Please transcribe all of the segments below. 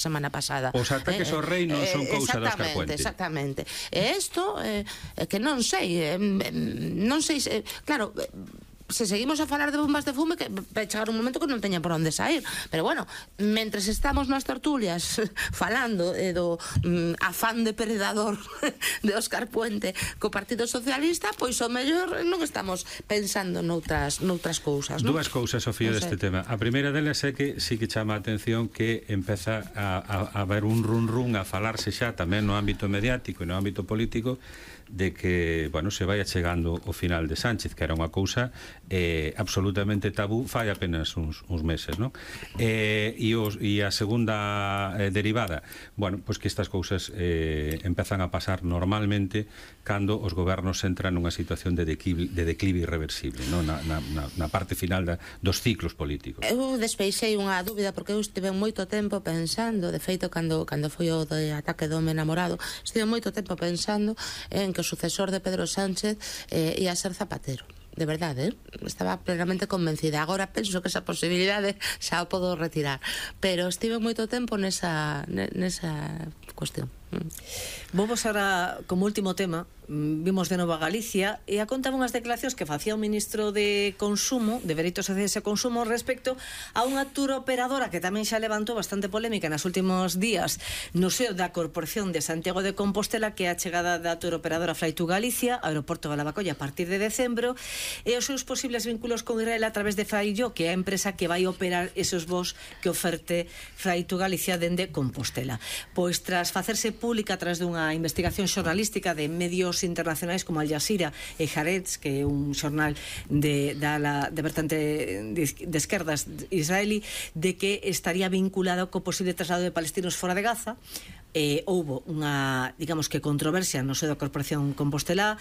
semana pasada. Os ataques ao rei non son cousa dos Carpuente. Exactamente. E isto, que non sei, claro, se seguimos a falar de bombas de fume, que vai chegar un momento que non teña por onde sair. Pero bueno, mentres estamos nas tertulias falando do afán depredador de Óscar Puente co Partido Socialista, pois o mellor non estamos pensando noutras cousas, non? Dúas cousas, Sofía, deste tema. A primeira delas é que sí que chama a atención que empeza a haber un run a falarse xa tamén no ámbito mediático e no ámbito político de que, bueno, se vai achegando o final de Sánchez, que era unha cousa absolutamente tabú fai apenas uns meses, non? E a segunda derivada, bueno, pois que estas cousas empezan a pasar normalmente cando os gobernos entran nunha situación de declive irreversible, non? Na parte final dos ciclos políticos. Eu despeixei unha dúbida porque eu estive moito tempo pensando, de feito, cando foi o de ataque do home namorado, estive moito tempo pensando en que o sucesor de Pedro Sánchez ia ser Zapatero. De verdade, estaba plenamente convencida. Agora penso que esa posibilidade xa o podo retirar, pero estive moito tempo nesa cuestión. Vamos ahora, como último tema, vimos de novo a Galicia e a contar unhas declaracións que facía o ministro de Consumo, de Dereitos Sociais e Consumo, respecto a unha turoperadora que tamén xa levantou bastante polémica nos últimos días no seo da Corporación de Santiago de Compostela, que é a chegada da turoperadora Flytour Galicia, aeroporto de Lavacolla a partir de decembro, e os seus posibles vínculos con Israel a través de Flyyo, que é a empresa que vai operar esos voos que oferte Flytour Galicia dende Compostela. Pois tras facerse pública a través dunha investigación xornalística de medios internacionais como Al Jazeera e Haaretz, que é un xornal de vertente de esquerdas israelí, de que estaría vinculado co posible traslado de palestinos fora de Gaza. Houbo unha, digamos que controversia no seo da Corporación Compostela,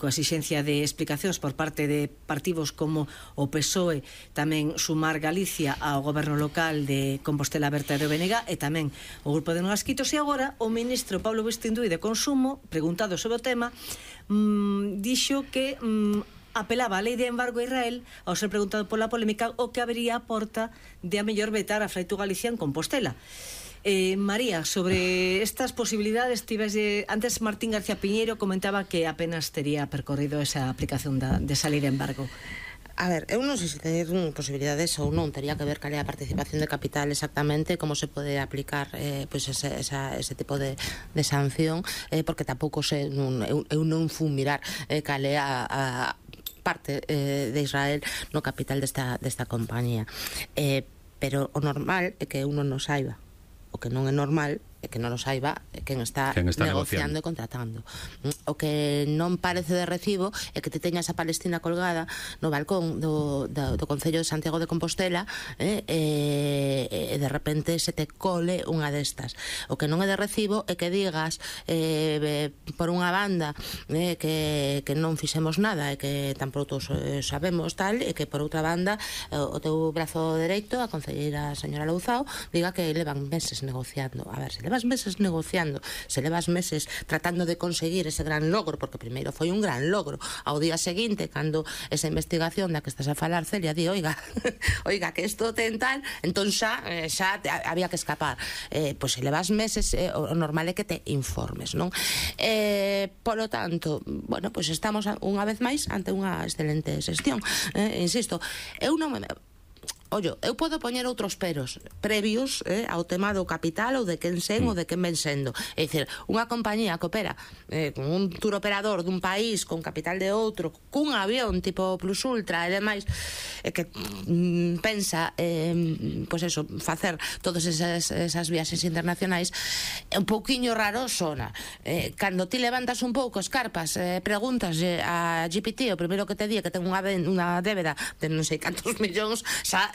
coa exixencia de explicacións por parte de partidos como o PSOE, tamén Sumar Galicia ao goberno local de Compostela Berta e do BNG, e tamén o grupo de Nogasquitos. E agora o ministro Pablo Bistindui de Consumo, preguntado sobre o tema, dixo que apelaba a lei de embargo a Israel ao ser preguntado pola polémica o que habería a porta de a mellor vetar a Flytour Galicia en Compostela. María, sobre estas posibilidades, antes Martín García Piñeiro comentaba que apenas tería percorrido esa aplicación desa lei de embargo. A ver, eu non sei se ter posibilidades ou non, tería que ver cal é a participación de capital exactamente, como se pode aplicar pois ese tipo de sanción, porque tampouco sei, eu non fui mirar cal é a parte de Israel no capital desta compañía, pero o normal é que uno non saiba. O que non é normal é que non o saiba quen está negociando e contratando. O que non parece de recibo é que te teñas a Palestina colgada no balcón do Concello de Santiago de Compostela e de repente se te cole unha destas. O que non é de recibo é que digas por unha banda que non fixemos nada e que tampouco sabemos tal, e que por outra banda o teu brazo dereito, a concelleira señora Louzao, diga que levan meses negociando. A ver, se levas meses negociando, se levas meses tratando de conseguir ese gran logro, porque primeiro foi un gran logro, ao día seguinte, cando esa investigación da que estás a falar, Celia, di, oiga, que isto ten tal, entón xa había que escapar. Pois se levas meses, o normal é que te informes, non? Polo tanto, bueno, pois estamos unha vez máis ante unha excelente xestión. Insisto, eu non me... Ollo, eu podo poñer outros peros previos ao tema do capital ou de quen sen ou de quen ven sendo. É dicir, unha compañía que opera con un tour operador dun país con capital de outro, cun avión tipo Plus Ultra e demais, que pensa pois eso, facer todas esas viaxes internacionais, é un pouquiño raro sona. Cando ti levantas un pouco escarpas, preguntas a GPT, o primeiro que te di é que ten unha débeda de non sei cantos millóns, xa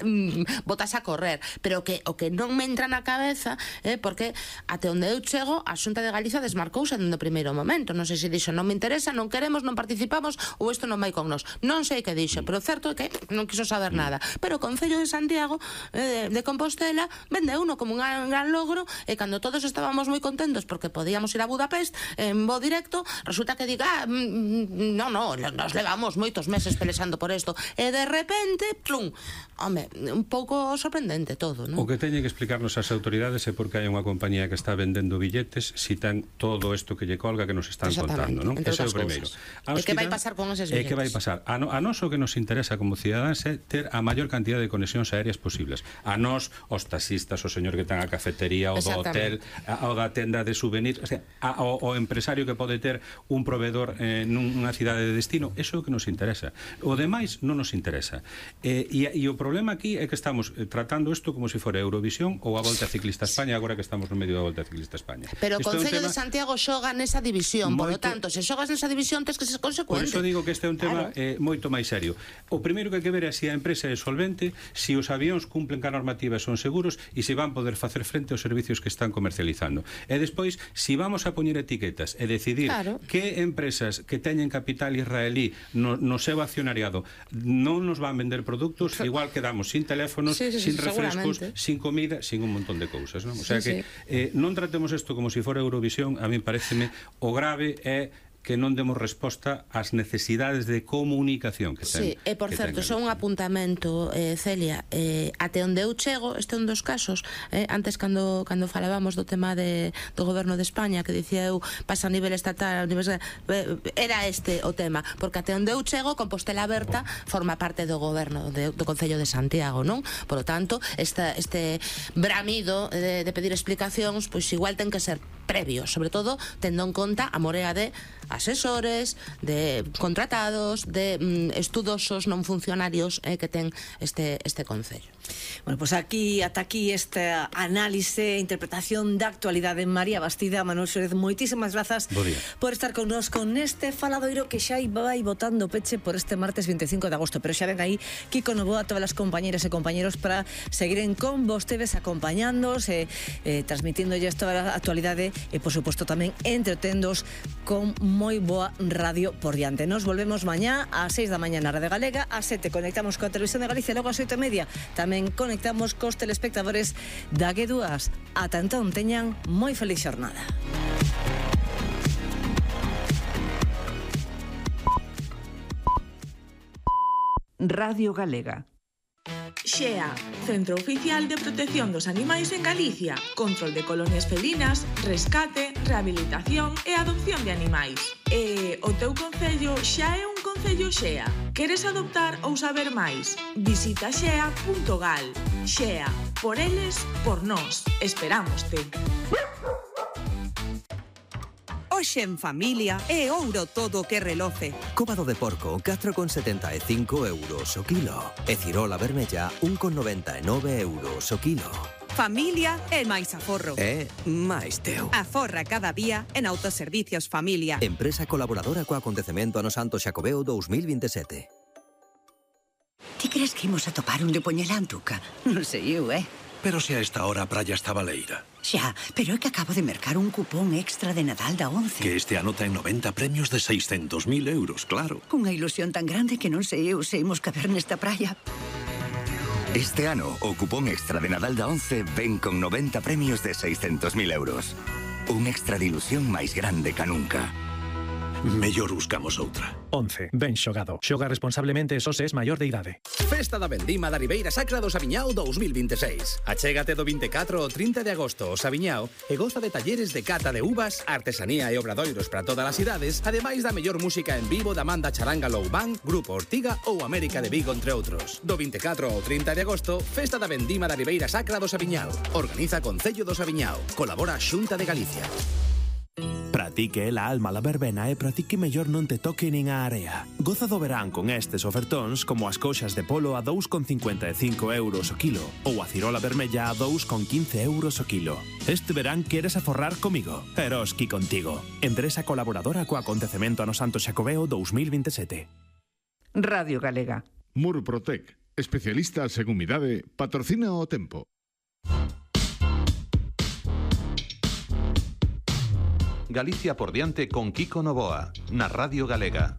botas a correr. Pero o que non me entra na cabeza porque até onde eu chego, a Xunta de Galicia desmarcouse no primeiro momento. Non sei se dixo non me interesa, non queremos, non participamos ou isto non vai con nós. Non sei que dixo, pero certo é que non quiso saber nada. Pero o Concello de Santiago de Compostela vende uno como un gran logro, e cando todos estábamos moi contentos porque podíamos ir a Budapest en voo directo, resulta que diga nos levamos moitos meses pelexando por isto, e de repente, plum, home, un pouco sorprendente todo, non? O que teñen que explicarnos as autoridades é porque hai unha compañía que está vendendo billetes si ten todo isto que lle colga que nos están contando, non? Ese é o primeiro. E que vai pasar con eses billetes? E que vai pasar? A nós o que nos interesa como cidadáns é ter a maior cantidad de conexións aéreas posibles. A nós, os taxistas, o señor que ten a cafetería, o do hotel, o da tenda de souvenirs, o sea, o empresario que pode ter un proveedor nunha cidade de destino, eso é o que nos interesa. O demais non nos interesa. E o problema aquí é que estamos tratando isto como se fora Eurovisión ou a Volta Ciclista a España, agora que estamos no medio da Volta Ciclista a España. Pero o Concello de Santiago xoga nesa división, por lo tanto, se xogas nesa división tens que ser consecuente. Por iso digo que este é un tema moito máis serio. O primeiro que hai que ver é se a empresa é solvente, se os avións cumplen ca normativa e son seguros e se van poder facer frente aos servicios que están comercializando. E despois, se vamos a poñer etiquetas e decidir que empresas que teñen capital israelí no seu accionariado non nos van vender produtos, igual quedamos sin teléfonos, sin refrescos, sin comida, sin un montón de cousas, non? O sea que non tratemos isto como se fora Eurovisión. A mí pareceme o grave é que non demos resposta ás necesidades de comunicación que ten. Sí, e por certo, só un apuntamento, Celia, até onde eu chego, este é un dos casos, antes cando falábamos do tema do goberno de España, que dicía eu, pasa a nivel estatal, era este o tema, porque até onde eu chego, Compostela Aberta forma parte do goberno do Concello de Santiago, non? Por lo tanto, este bramido de pedir explicacións, pois igual ten que ser previo, sobre todo tendo en conta a morea de asesores, de contratados, de estudosos non funcionarios que ten este Concello. Bueno, pues ata aquí esta análise e interpretación da actualidade. María Bastida, Manuel Xórez, moitísimas grazas por estar connosco neste faladoiro que xa vai botando peche por este martes 25 de agosto, pero xa ven aí Kiko Novoa, todas as compañeras e compañeros para seguiren con vostedes acompañándos e transmitindolle toda a actualidade e, por suposto, tamén entretendos con moi boa radio por diante. Nos volvemos mañá ás 6 da mañá na Radio Galega, ás 7 conectamos coa Televisión de Galicia, logo ás 8:30 tamén conectamos cos telespectadores da G2. Ata entón, teñan moi feliz xornada. Radio Galega. XEA, Centro Oficial de Protección dos Animais en Galicia. Control de colonias felinas, rescate, rehabilitación e adopción de animais. E o teu concello xa é un concello XEA. Queres adoptar ou saber máis? Visita xea.gal. XEA, por eles, por nós. Esperámoste. Hoxe en familia é ouro todo o que reloce. Cóbado de porco, 4,75 euros o kilo. E cirola vermella, 1,99 euros o kilo. Familia é máis aforro. É máis teu. Aforra cada día en Autoservicios Familia. Empresa colaboradora co acontecemento Ano Santo Xacobeo 2027. Ti crees que imos a topar un de Poñelantuca? Non sei eu, Pero se a esta hora a praia está baleira. Xa, pero é que acabo de mercar un cupón extra de Nadal da 11. Que este ano ten 90 premios de 600.000 euros, claro. Unha ilusión tan grande que non sei eu se imos caber nesta praia. Este ano, o cupón extra de Nadal da 11 ven con 90 premios de 600.000 euros. Un extra de ilusión máis grande ca nunca. Mellor buscamos outra. 11. Ben xogado. Xoga responsablemente só se es maior de idade. Festa da Vendima da Ribeira Sacra do Sabiñao 2026. Achégate do 24 ao 30 de agosto ao Sabiñao e goza de talleres de cata de uvas, artesanía e obradoiros para todas as idades, ademais da mellor música en vivo da Manda Charanga Low Band, Grupo Ortiga ou América de Vigo, entre outros. Do 24 ao 30 de agosto, Festa da Vendima da Ribeira Sacra do Sabiñao. Organiza Concello do Sabiñao. Colabora Xunta de Galicia. Pratique la alma la verbena e pratique mellor non te toque nin a area. Goza do verán con estes ofertóns como as coxas de polo a 2,55 euros o kilo ou a cirola vermella a 2,15 euros o kilo. Este verán queres aforrar comigo? Eroski contigo. Empresa colaboradora co acontecemento Ano Santo Xacobeo 2027. Radio Galega. Murprotec, especialistas en humidade, patrocina o tempo. Galicia por diante con Kiko Novoa, na Radio Galega.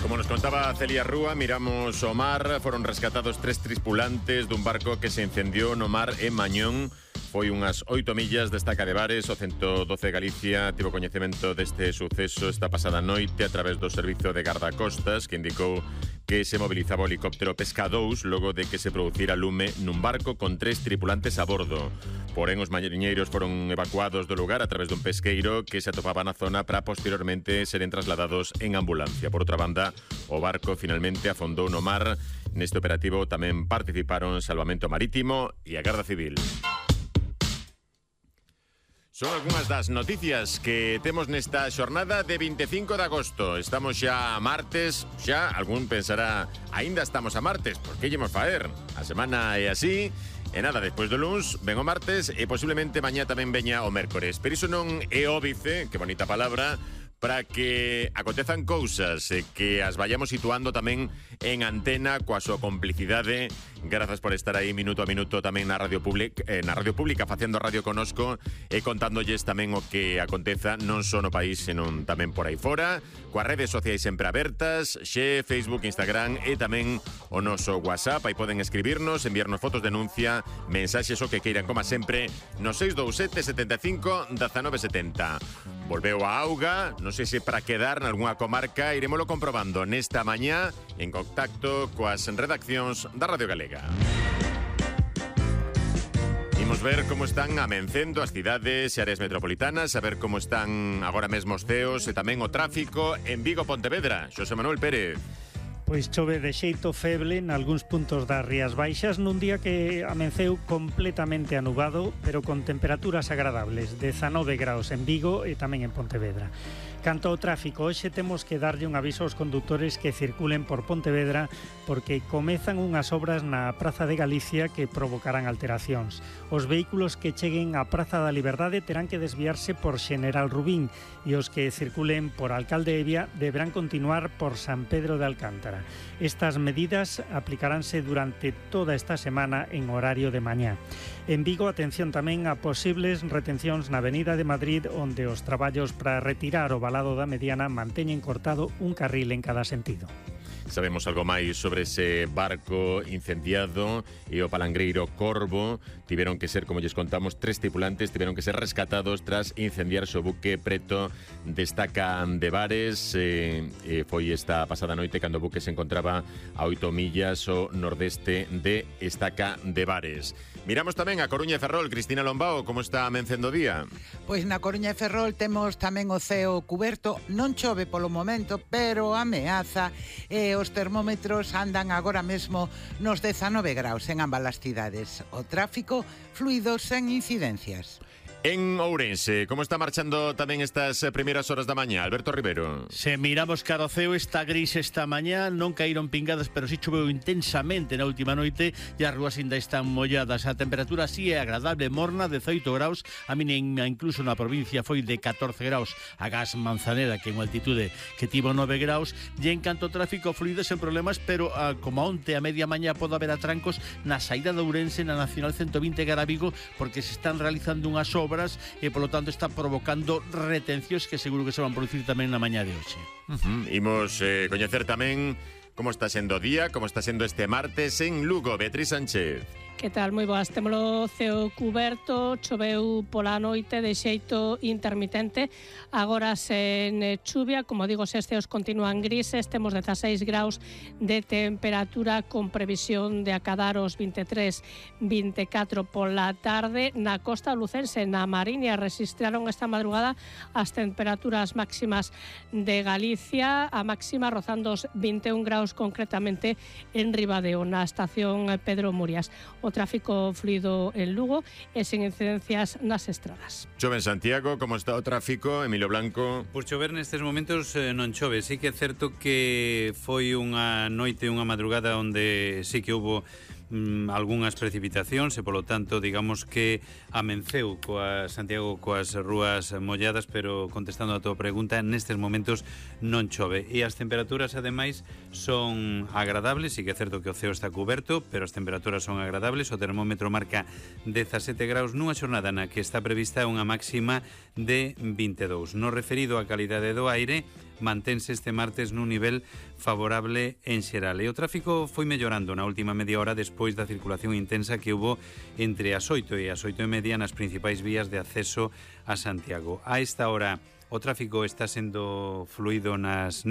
Como nos contaba Celia Rúa, miramos o mar, foron rescatados 3 tripulantes dun barco que se incendiou no mar en Mañón, Foi unhas 8 millas da estaca de Bares. O 112 de Galicia tivo coñecemento deste suceso esta pasada noite a través do Servizo de Gardacostas, que indicou que se mobilizaba o helicóptero Pesca 2 logo de que se producira lume nun barco con 3 tripulantes a bordo. Porén, os mariñeiros foron evacuados do lugar a través dun pesqueiro que se atopaba na zona para posteriormente seren trasladados en ambulancia. Por outra banda, o barco finalmente afondou no mar. Neste operativo tamén participaron Salvamento Marítimo e a Garda Civil. Son algunhas das noticias que temos nesta xornada de 25 de agosto. Estamos xa a martes, xa algún pensará, aínda estamos a martes, por que llemos faer? A semana é así, e nada, despois do luns ven o martes e posiblemente mañá tamén veña o mércores. Pero iso non é óbice, que bonita palabra, para que acontezan cousas e que as vayamos situando tamén en antena coa súa complicidade. Grazas por estar aí minuto a minuto tamén na Radio Pública facendo radio conosco e contándolles tamén o que aconteza non só no país, senón tamén por aí fora, coas redes sociais sempre abertas, xe, Facebook, Instagram e tamén o noso WhatsApp. Aí poden escribirnos, enviarnos fotos, denuncia, mensaxes o que queiran, como sempre, no 627 75 1970. Volveu a auga, non sei se para quedar nalgúna comarca, iremoslo comprobando nesta mañá en contacto coas redaccións da Radio Galega. Imos ver como están amencendo as cidades e áreas metropolitanas, a ver como están agora mesmo os ceos e tamén o tráfico en Vigo, Pontevedra. Xosé Manuel Pérez. Pois chove de xeito feble nalgúns puntos das Rías Baixas nun día que amenceu completamente anubado, pero con temperaturas agradables, 19 graus en Vigo e tamén en Pontevedra. Canto ao tráfico, hoxe temos que darlle un aviso aos condutores que circulen por Pontevedra porque comezan unhas obras na Praza de Galicia que provocarán alteracións. Os vehículos que cheguen á Praza da Liberdade terán que desviarse por Xeneral Rubín e os que circulen por Alcalde Evia deberán continuar por San Pedro de Alcántara. Estas medidas aplicaránse durante toda esta semana en horario de mañá. En Vigo, atención tamén a posibles retencións na Avenida de Madrid, onde os traballos para retirar o valado da Mediana manteñen cortado un carril en cada sentido. Sabemos algo máis sobre ese barco incendiado e o palangreiro Corvo. Tiveron que ser, como lles contamos, 3 tripulantes tiveron que ser rescatados tras incendiarse o buque preto de Estaca de Bares. Foi esta pasada noite cando o buque se encontraba a 8 millas ao nordeste de Estaca de Bares. Miramos tamén a Coruña e Ferrol. Cristina Lombao, como está amencendo o día? Pois na Coruña e Ferrol temos tamén o ceo cuberto. Non chove polo momento, pero ameaza e os termómetros andan agora mesmo nos 19 graus en ambas as cidades. O tráfico fluido sen incidencias. En Ourense, como está marchando tamén estas primeiras horas da mañá? Alberto Rivero. Se miramos cara ao ceo, está gris esta mañá, non caíron pingadas, pero si choveu intensamente na última noite e as rúas ainda están molladas. A temperatura si é agradable, morna, 18 graus, a mínima incluso na provincia foi de 14 graus, a Gas Manzanera, que en altitude que tivo 9 graus, e en canto ao tráfico fluido sen problemas, pero como onte a media mañá pode haber atrancos na saída de Ourense, na Nacional 120 cara a Vigo, porque se están realizando unhas obras e polo tanto está provocando retencións que seguro que se van producir tamén na mañá de hoxe. Imos coñecer tamén como está sendo o día, como está sendo este martes en Lugo. Beatriz Sánchez. Que tal? Moi boas. Témolo ceo cuberto, choveu pola noite de xeito intermitente, agora sen chuvia, como digo, os ceos continúan grises, temos 16 graus de temperatura con previsión de acadar os 23-24 pola tarde. Na costa lucense, na Mariña, registraron esta madrugada as temperaturas máximas de Galicia, a máxima rozando os 21 graus concretamente en Ribadeo, na estación Pedro Murias. O tráfico fluido en Lugo e sen incidencias nas estradas. Chove en Santiago, como está o tráfico? Emilio Blanco. Por chover nestes momentos non chove, sí que é certo que foi unha noite, unha madrugada onde sí que houbo algunhas precipitacións e polo tanto digamos que amenceu coa Santiago coas rúas molladas, pero contestando a tua pregunta, nestes momentos non chove e as temperaturas ademais son agradables. Sí que é certo que o ceo está cuberto, pero as temperaturas son agradables. O termómetro marca 17 graus nunha xornada na que está prevista unha máxima de 22. No referido á calidade do aire, mantense este martes nun nivel favorable en xeral. E o tráfico foi mellorando na última media hora despois da circulación intensa que hubo entre as 8 e as 8:30 nas principais vías de acceso a Santiago. A esta hora o tráfico está sendo fluido nesas